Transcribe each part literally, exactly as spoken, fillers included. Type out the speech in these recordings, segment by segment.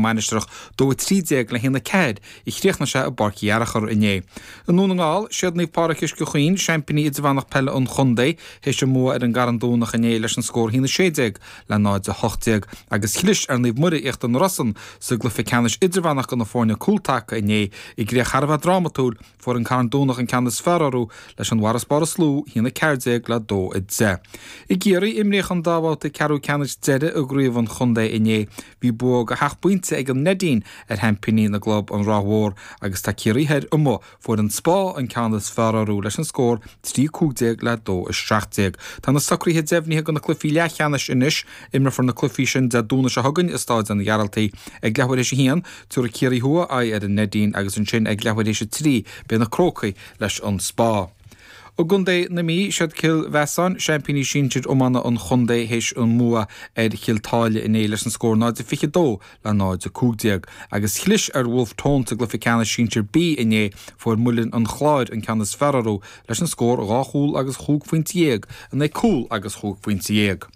Mainistreach, dó a trí déag le haon a ceathair a chríochnaigh sé i bPáirc Uí Fhearachair inné. I nDún na nGall, siad Naomh Pádraig Uisce Chaoin, seaimpíní idirmheánach peile an chontae, théis a mbua ar an gCarn Domhnach inné leis an scór a haon a sé déag le náid a hocht déag agus chlis ar Naomh Muire Íochtar na Rosann sa gcluiche ceannais idirmheánach do na foirne cúltaca inné i gcríoch thar a bheith drámatúil. Fuair an Carn Domhnach an ceann is fearr orthu leis an bhfarasbarr is lú, a haon a ceathair déag le dó a deich. I gCiarraí, imríodh an dá bhabhta ceathrú ceannais deiridh i gcraobh an chontae inné. Bhí bua de sheacht bpointe ag an Neidín ar sheaimpíní na gclub, an Ráth Mhór, agus tá Ciarraí Thoir amuigh. Fuair an Spá an ceann is fearr orthu leis an scór trí cúig déag le dó a seacht déag. Tá na socruithe deimhnithe do na cluichí leathcheannais anois. Imreofar na cluichí sin Dé Domhnaigh seo chugainn i Stáid an Ghearaltaigh. Ag leathuair théis a haon, tabharfaidh Ciarraí Thuaidh aghaidh ar an Neidín agus ansin ag leathuair théis a trí beidh na Crócaigh leis an Spá. I gContae na Mí, siad Cill Mheasáin, seaimpíní sinsir iomána an chontae théis an mbua ar Chill tSáile inné leis an scór náid a fiche dó le náid a cúig déag. Agus chlis ar Bhulf Tón sa gcluiche ceannais sinsir B inné, fuair Muileann an Chláir an ceann is fearr orthu leis an scór dhá chúl agus chúig phointe dhéag in aghaidh cúl agus chúig phointe dhéag.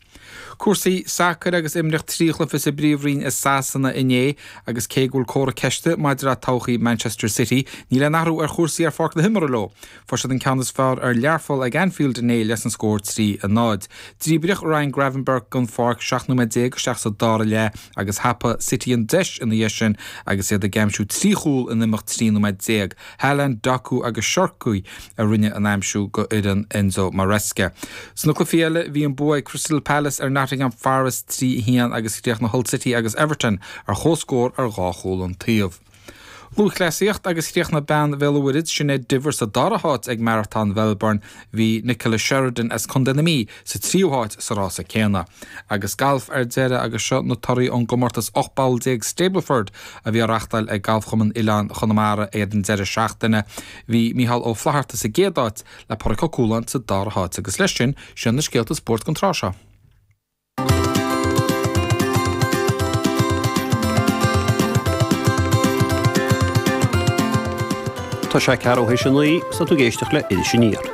Cúrsaí sacair agus imríodh trí chluiche sa bPríomhroinn i Sasana inné agus cé go bhfuil comhartha ceiste maidir le todhchaí Manchester City, níl aon athrú ar chúrsaí ar pháirc na himeartha leo. Fuair siad an ceann is fearr ar Learpholl ag Anfield inné leis an scór trí a náid. Díbríodh Ryan Gravenberch den pháirc seacht nóiméad déag isteach sa dara leath agus thapaigh City an deis ina dhiaidh sin agus iad ag aimsiú trí chúl in imeacht trí nóiméad déag. Haaland, Doku agus Cherki a rinne an aimsiú go fhoireann Enzo Maresca. Sna cluichí eile bhí an bua ag Crystal Palace ar Nottingham Forest trí a haon agus chríochnaigh Hull City agus Everton ar chomhscór ar dhá chúl an taobh. Lúthchleasaíocht agus chríochnaigh bean Bhéal an Mhuirthead, Sinéad Diver sa dara háit ag Maratón Mhelbourne. Bhí Nicola Sheridan as Contae na Mí sa tríú háit sa rása céanna. Agus galf ar deireadh agus seo na torthaí ón gcomórtas ocht bpoll déag Stableford a bhí á reáchtáil ag Galfchumann Oileáin Chonamara ar an deireadh seachtaine. Bhí Mícheál Ó Flatharta sa gcéad áit le Pádraig Ó Cualáin sa dara háit agus leis sin, sin na scéalta spóirt don tráth seo. Tá sé ceathrú théis a naoi 's tá tú ag éisteacht le Iris Aniar.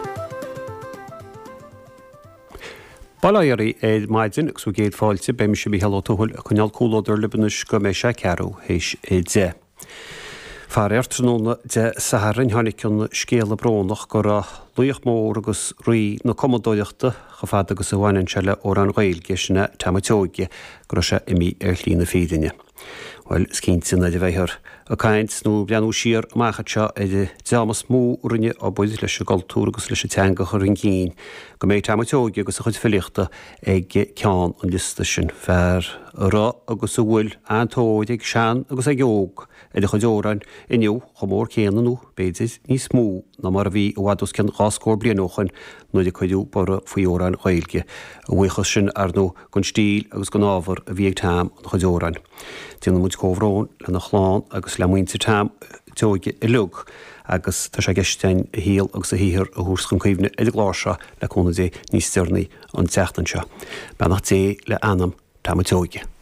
Bail ó Dhia oraibh ar maidin agus bhur gcéad fáilte, beidh mise Mícheál Ó Tuathail ag coinneáil comhluadar libh anois go mbeidh sé ceathrú théis a deich. Faraor, tráthnóna Dé Sathairn tháinig an scéala brónach go raibh laoch mór agus rí na cumadóireachta, chomh fada agus a bhaineann sé le amhráin Ghaeilge, sin é Tom a' tSeoighe, go raibh sé imithe ar shlí na fírinne. Bhuel, is cinnte nuair a bheifear ag caint nó ag breathnú siar amach anseo ar an dream is mó a rinne obair leis an gcultúr agus leis an teanga a chur chun cinn, go mbeidh Tom a' tSeoighe agus a chuid filíochta ag ceann an liosta sin. Fear a raibh agus a bhfuil an-tóir ag sean agus ag óg ar a chuid amhrán inniu chomh mór céanna nó b'fhéidir níos mó ná mar a bhí i bhfad os cionn dhá scór bliain ó shoin nuair a cuireadh borradh faoi amhráin Ghaeilge. A bhuíochas sin, ar ndóigh, don stíl agus don ábhar a bhí ag Tom ina chuid amhrán. Déanann muid comhbhrón lena chlann agus le muintir Tom tSeoighe uilig agus tá sé i gceist againn a shaol agus a shaothar a thabhairt chun cuimhne ar an gclár seo le cúnamh Dé níos deireanaí an tseachtain seo. Beannacht Dé le anam Tom a' tSeoighe.